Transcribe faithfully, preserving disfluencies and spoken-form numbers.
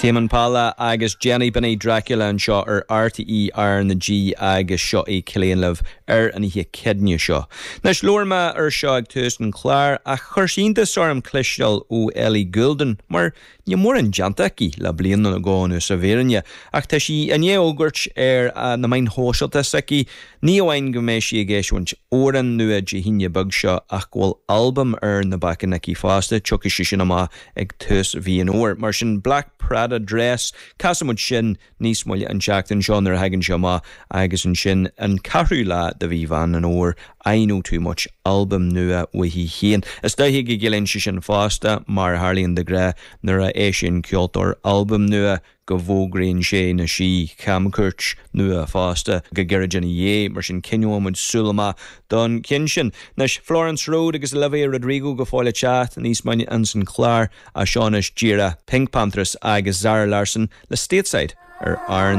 Tame Impala agus Jenny Binny Dracula anseo ar RTÉ R na G agus seo é Céilí Live ar an oíche Chéadaoine seo. Anois labhair mé ar seo ag tús an chláir ach chuir sé iontas orm cloisteáil ó Ellie Goulding mar níl mórán déanta aici le bliain nó dhó anuas sa bhfírinne, ach tá sí i ndiaidh fógairt ar na meáin shóisialta s'aici, ní amháin go mbeidh sí ag eisiúint amhrán nua Dé hAoine beag seo ach go bhfuil albam ar na bacáin aici fosta, tiocfaidh sé sin amach ag tús mhí an Fhómhair. Mar sin Black Prada Dress, casfaidh muid sin níos moille an tseachtain seo nuair a thagann sé amach agus ansin an ceathrú lá de mhí Mheán an Fhómhair I Know Too Much albam nua uaithi féin. Is dóiche go gciallaíonn sé sin fosta mar a tharlaíonn de ghnáth nuair a eisíonn ceoltóir albam nua go bhfógraíonn sé nó sí camchuairt nua fosta go gairid ina dhiaidh mar sin coinneoidh muid súil amach don cheann sin. Anois Florence Road agus Olivia Rodrigo go fóill ag teacht níos moille insan chlár ach seo anois díreach PinkPantheress agus Zara Larsson le Stateside ar R na